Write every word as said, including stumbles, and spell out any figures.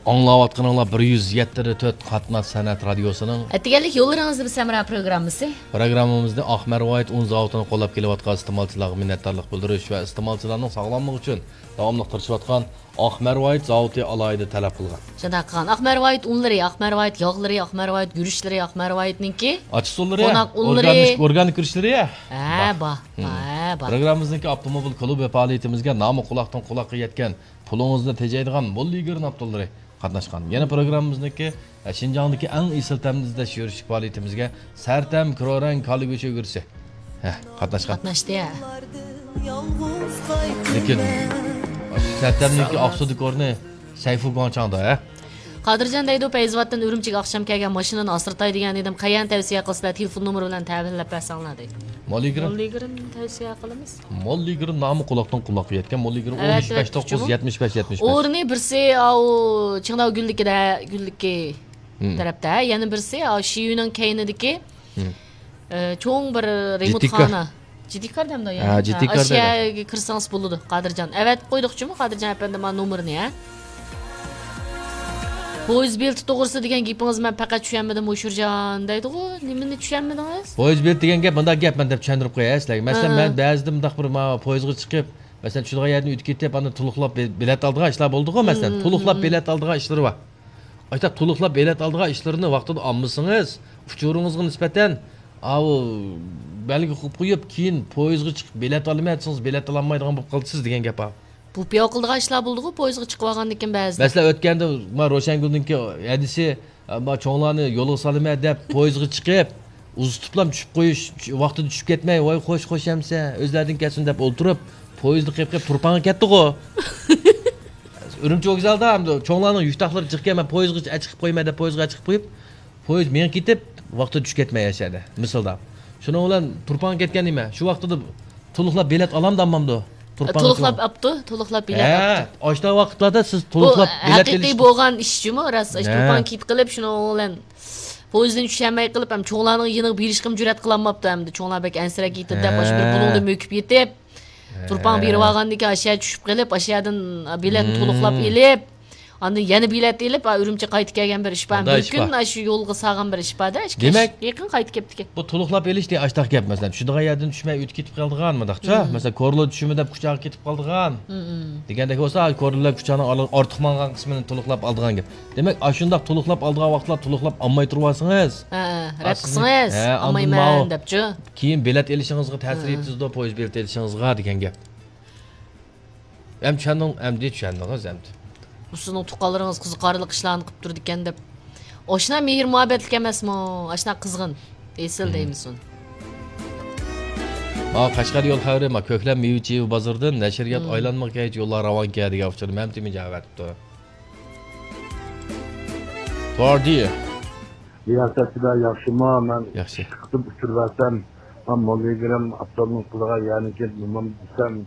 ئاڭلاۋاتقىنىڭلار بىر يۈز يەتتە تۆت قاتناش سەنئەت رادىيوسىنىڭ ئەتىگەنلىك يوللىرىڭىزدا بىز ھەمراھ پروگراممىسى. پروگراممىمىزنى ئاق مەرۋايىت ئۇن زاۋۇتىنى قوللاپ كېلىۋاتقان ئىستېمالچىلارغا مىننەتدارلىق بىلدۈرۈش ۋە ئىستېمالچىلارنىڭ ساغلاملىقى ئۈچۈن داۋاملىق تىرىشىۋاتقان ئاق مەرۋايىت زاۋۇتى ئالاھىدە تەلەپ قىلغان. شۇنداق قىلغان. ئاق مەرۋايىت ئۇنلىرى، ئاق مەرۋايىت ياغلىرى، ئاق مەرۋايىت گۈرۈچلىرى، ئاق مەرۋايىتنىڭكى ئاچچىقسۇلىرى، قوناق ئۇنلىرى. ئورگانىك، ئورگانىك گۈرۈچلىرى. ھە، بار، ھە، بار. پروگراممىمىزنىڭكى ئاپتوموبىل كۇلۇبى پائالىيىتىمىزگە نامى قۇلاقتىن قۇلاققا يەتكەن، پۇلىڭىزنى تېجەيدىغان مول يىگىرنى ئاپتوللىرى قاتناشقان. يەنە پروگراممىمىزنىڭكى، ھە، شىنجاڭدىكى ئەڭ ئېسىل تەمنى ئىزدەش يۈرۈشلۈك پائالىيىتىمىزگە سەرتەم كرورەڭ كالا گۆشى ئۆگرىسى، ھە، قاتناشقان. قاتناشتى، ھە. لېكىن سەرتەمنىڭكى ئاقسۇدىكى ئورنى سەيفۇ گۇاڭچاڭدا، ھە. قادىرجان دەيدۇ، پەيزىۋاتتىن ئۈرۈمچىگە ئاخشام كەلگەن ماشىنىنى ئاسرىتاي دېگەن ئىدىم، قەيەرنى تەۋسىيە قىلىسىلەر، تېلېفون نومۇرى بىلەن تەۋسىيەلەپ بەرسەڭلار دەيدۇ. موللىگرىم. موللىگرىم تەۋسىيە قىلىمىز. موللىگرىم نامى قۇلاقتىن قۇلاققا يەتكەن، موللىگرىم ئون ئۈچ بەش توققۇز يەتمىش بەش يەتمىش بەش. ئورنى بىرسى، ئاۋۇ، چىڭداۋ گۈللۈكىدە، گۈللۈكى تەرەپتە، يەنە بىرسى، ئاۋۇ، شىيۈنىڭ كەينىدىكى، ئە، چوڭ بىر رېمونتخانا. جىددىكار دەمدۇ يەنى. ھە، جىددىكار دەيدۇ. ئاشۇيەگە كىرسىڭىز بولىدۇ، قادىرجان. ئەۋەتىپ قويدۇقچىمۇ، قادىرجان ئەپەندى، مانا نومۇرنى، ھە؟ پويىز بېلىتى توغرىسىدا دېگەن گېپىڭىز، مەن پەقەت چۈشەنمىدىم، ھوشۇرجان دەيدىغۇ. نېمىنى چۈشەنمىدىڭىز؟ پويىز بېلىتى دېگەن گەپ، مۇنداق گەپ، مەن دەپ چۈشەندۈرۈپ قوياي سىلەرگە. مەسىلەن، ھە، مەن بەزىدە مۇنداق بىر مانا پويىزغا چىقىپ، مەسىلەن، چۈشىدىغان يەردىن ئۆتۈپ كېتىپ، ئاندىن تولۇقلاپ بې-، بېلەت ئالىدىغان ئىشلار بولىدىغۇ، مەسىلەن. تولۇقلاپ بېلەت ئالىدىغان ئىشلىرى بار. ئاشۇنداق تولۇقلاپ بېلەت ئالىدىغان ئىشلىرىنى ۋاقتىدا ئالمىسىڭىز، ئۇچۇرىڭىزغا نىسبەتەن، ئاۋۇ، بەلگە قويۇپ قويۇپ، كېيىن پويىزغا چىقىپ بېلەت ئالىمەن دېسىڭىز، بېلەت ئالالمايدىغان بولۇپ قالىسىز دېگەن گەپ بار. بۇ پىياق قىلىدىغان ئىشلار بولىدىغۇ، پويىزغا چىقىپ ئالغاندىن كېيىن بەزىدە. مەسىلەن، ئۆتكەندە ما روشەنگۈلنىڭكى ھەدىسى، ما چوڭلارنى يولغا سالىمەن دەپ پويىزغا چىقىپ، ئۇزىتىپلام چۈشۈپ قويۇش، ۋاقتىدا چۈشۈپ كەتمەي، ۋاي خوش، خوش ئەمسە، ئۆزلەردىن كەتسۇن دەپ ئولتۇرۇپ، پويىزنى قېپىپ قېپىپ تۇرپانغا كەتتىغۇ. ئۈرۈمچى ۋوگزالدا ئەمدى چوڭلارنىڭ يۈك تاقلىرى جىقكەن، مەن پويىزغا ئەچىقىپ قويىمەن دەپ پويىزغا ئەچىقىپ قويۇپ، پويىز مېڭىپ كېتىپ، ۋاقتىدا چۈشۈپ كەتمەي ئاشۇ يەردە، مىسالدا. شۇنىڭ بىلەن تۇرپانغا كەتكەن نېمە؟ شۇ ۋاقتىدا تولۇقلاپ بېلەت ئالامدۇ ئالمامدۇ؟ تۇرپانغا تولۇقلاپ ئاپتۇ، تولۇقلاپ بېلەت ئاپتۇ. ھە، ئاشۇنداق ۋاقىتلاردا سىز تولۇقلاپ بېلەت ئېلىش. بۇ ھەقىقىي بولغان ئىش جۇمۇ، راست. ھە. تۇرپان كېتىپ قېلىپ، شۇنىڭ بىلەن پويىزدىن چۈشەلمەي قېلىپ، ھەم چوڭلارنىڭ يېنىغا بېرىشقىمۇ جۈرئەت قىلالماپتۇ ئەمدى. چوڭلار بەك ئەنسىرەپ كېتىدۇ دەپ، ئاشۇ بىر بۇلۇڭدا مۆكۈپ يېتىپ، تۇرپان بېرىۋالغاندىن كېيىن ئاشۇ يەردە چۈشۈپ قېلىپ، ئاشۇ يەردىن بېلەتنى تولۇقلاپ ئېلىپ، ئاندىن يەنە بېلەت ئېلىپ، ئا، ئۈرۈمچىگە قايتىپ كەلگەن بىر ئىش بار. بىر كۈن ئاشۇ يولغا سالغان بىر ئىش بار-دە، ئىككى كۈن قايتىپ كېلىپتىكەن. بۇ تولۇقلاپ ئېلىش دېگەن ئاشۇنداق گەپ، مەسىلەن، چۈشىدىغان يەردىن چۈشمەي ئۆتۈپ كېتىپ قالىدىغان، مۇنداقچە، مەسىلەن، كورلا چۈشىمەن دەپ كۇچاغا كېتىپ قالىدىغان دېگەندەك بولسا، كورلا بىلەن كۇچانىڭ ئارتۇق ماڭغان قىسمىنى تولۇقلاپ ئالىدىغان گەپ. دېمەك، ئاشۇنداق تولۇقلاپ ئالىدىغان ۋاقىتلار تولۇقلاپ ئالماي تۇرۇۋالسىڭىز، ھە، رەت قىلسىڭىز، ھە، ئالمايمەن دەپچۇ. كېيىن بېلەت ئېلىشىڭىزغا تەسىر يەتكۈزىدۇ، پويىز بېلىتى ئېلىشىڭىزغا دېگەن گەپ. ئەمدى چۈشەندىڭ، ئەمدى چۈشەندىڭىز ئەمدى. بۇ سىزنىڭ تۇغقانلىرىڭىز قىزىقارلىق ئىشلارنى قىلىپ تۇرىدىكەن دەپ. ئاشۇنداق مېھىر مۇھەببەتلىك ئەمەسمۇ؟ ئاشۇنداق قىزغىن. ئېسىل دەيمىسۇن. ھا، قەشقەر يول خەۋىرى، ما، كۆكلەم مېۋە چېۋە بازىرىدىن نەشرىيات ئايلانمىغا كەيت يوللار راۋانكە دېگەن ئۇچۇرنى مەمتىمىن جاۋاب بېرىپتۇ. توردى. رىياسەتچىلەر ياخشىمۇ؟ مەن ياخشى. ئىككى قېتىم ئۇچۇر بەرسەم، مەن موللىگرىم ئاپتونوم قىلغان يەرنى كېلىپ نېمام دېسەم،